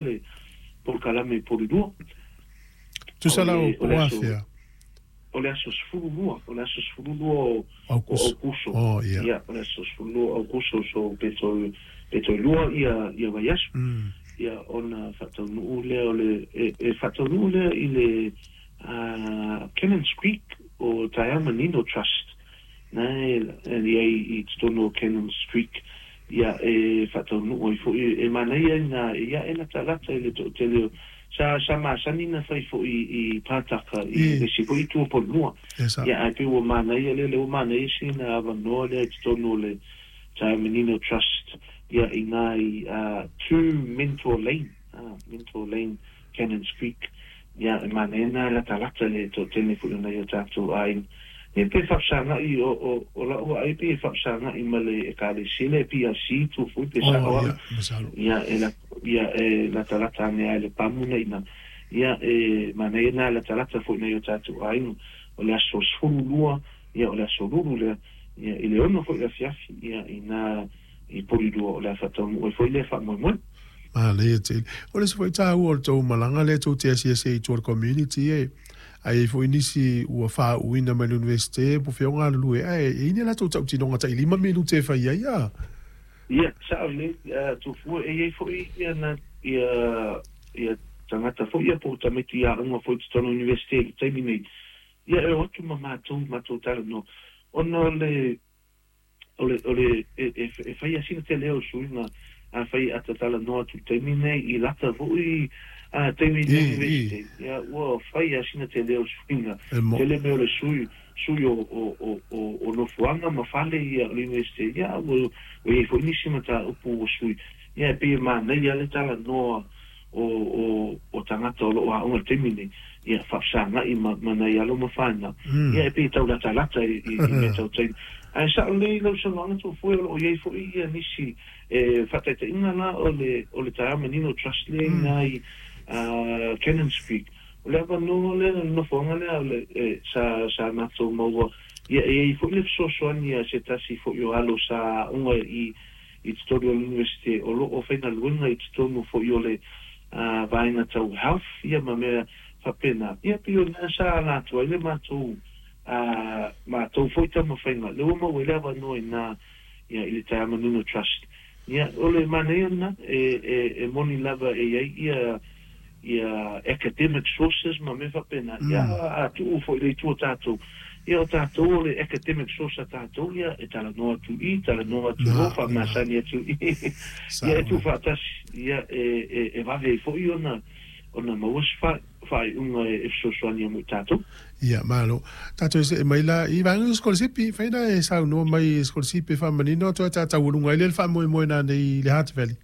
Le polokalame i Polilua. Tusa la O o le aso afea. O le aso 12, o le aso 12 o Aukuso. Aukuso. Oh, ia. Ia, o le aso 12 o Aukuso, so pe toe 2 ia vaiaso. Ia, ona faataunuu lea o le e faataunuu lea i le Cannons Creek o Taeaomanino Trust. Na e i ai i totonu o Cannons Creek, ia e faataunuu ai foi e manaia ina ia e latalata i le toatele o sa masani na fai foi i Pātaka i le isi foi itu o Polilua. E sa'o. Ia, ae pei ua manaia lea ua manaia sina avanoa lea i totonu o le Taeaomanino Trust, ia i ina i 2 Mentor Lane, Mentor Lane, Cannons Creek. Ia, e manaia na e latalata le toatele foi o nai o tatou aiga. Ia, pe faafesaga'i o la'u vaai pe faafesaga'i ma le Ekalesia le PIC tu foi pe sa'o Oh, a'u. Ia, masalo. Ia e la, ia e latalata ane ai le pamu na ina. Ia e manaia na latalata foi nai o tatou aiga. O le aso 12, ia o le aso Lulu lea, ia i le 6 foi afiafi, ia ina i Polilua o le a faataunuu ai foi lea faamoemoe. Manaia tele. O le isi foi taua o le tou malaga lea tou te asiasi ai i tua o le community e ai foi nisi ua faauuina mai le Universite po o fea o galulue ae e i ai ni a latou tautinoga tai 5 minute e fai ai a. Ia, sa'o lelei, Tofua, e i ai foi ia na ia tagata foi ia po o tamaiti aoga foi i totonu o le Universite i le taimi nei. Ia e o atu ma matou talanoa ona o le e fai asina tele o suiga a fai a tatalanoa atu i le taimi nei i lata foi a taimi i le Universite. Ia ua fai asina tele o suiga E mo. tele mea o le sui o nofoaga ma fale ia o le Universite. Ia ua iai foi nisi mataupu ua sui. Ia e pei e manaia le talanoa o tagata o loo aoga i le taimi nei, ia faafesaga'i ma nai alo ma fanau. Ia e pei e taulatalata i mea tau taimi. Ae sa'o lelei lau saunoaga, Tofue, o loo iai foi ia nisi e faataitaiga la o le Taeaomanino Trust lea ina i Cannons Creek. O le avanoa lea, le nofoaga lea o le sa matou maua, ia e iai foi le fesoasoani a se tasi foi o alo sa aoga i totonu o le Universite o loo faigaluega i totonu foi o le vaega tau health ia ma mea faapena. Ia pei o lena sa ala atu ai le matou foi taumafaiga le ua maua ai le avanoa ina ia i le Taeaomanino Trust. Ia o le manaia lena e moni lava e iai ia academic sources ma mea faapena. Ia a tuu foi le itu o tatou, ia o tatou o le academic source a tatou, ia e talanoa atu i talanoa atu o faamasani atu i ia e tuufaatasi, ia e vave ai foi ona maua se faaiuga e fesoasoani mo i tatou. Ia, malo. Tatou se'e mai la i vaega o sikolasipi, faina e saunoa mai sikolasipi e faamanino atu ai tataualuga ai lea le faamoemoe nanei i le Hutt Valley.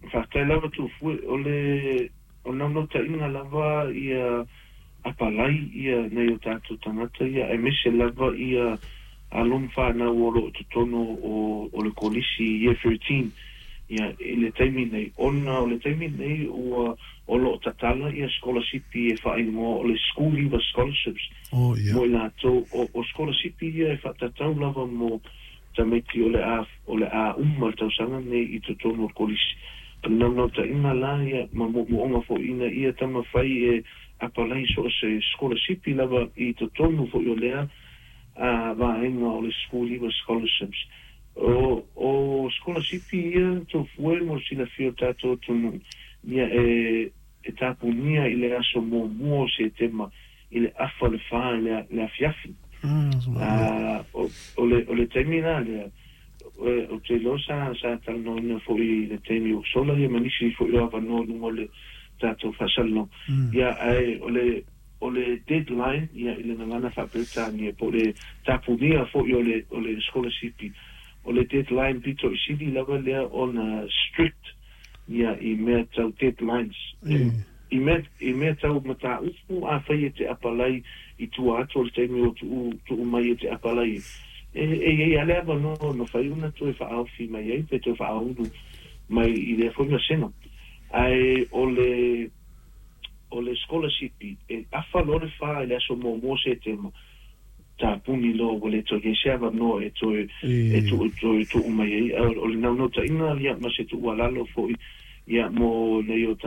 Faafetai lava, Tufue. O le o naunautaiga lava ia apalai ia nai o tatou tagata ia aemaise lava ia alo ma fanau o loo totonu o le kolisi Year 13 ia i le taimi nei, ona o le taimi nei ua o loo tatala ia sikolasipi e faaigoa o le School Leaver Scholarships Oh, ia. mo i latou o sikolasipi ia e faatatau lava mo tamaiti o le a uma le tausaga nei i totonu o le kolisi. O le naunautaiga la ia ma moomooga foi ina ia taumafai e apalai so o se sikolasipi lava i totonu foi o lea vaega o le School Leaver Scholarships. O sikolasipi ia, Tofue, mo le silafia o tatou atunuu, ia e tapunia i le aso 1 o Setema i le 3:30 i le afiafi. O le taimi la lea o te iloa sa talanoaina foi i le taimi o sola ia ma nisi foi o avanoa i luga o le tatou faasalalauga. Ia ae o le deadline ia i le gagana faaperetania po o le tapunia foi o le sikolasipi, o le deadline pito i sili lava lea ona strict ia i mea tau deadlines i mea tau mataupu. Afai e te apalai i tua atu o le taimi o tuu tuu mai e te apalai, e iai ale avanoa mafai ona toe faaofi mai ai pe toe faaulu mai i lea foi masega. Ae o le scholarship e afa loa le 4 i le aso 1 Setema, tapuni loa, ua le toe iai se avanoa e toe e tuu toe tuu mai ai. O le naunautaiga ia ma se tuualalo foi ia mo nei o.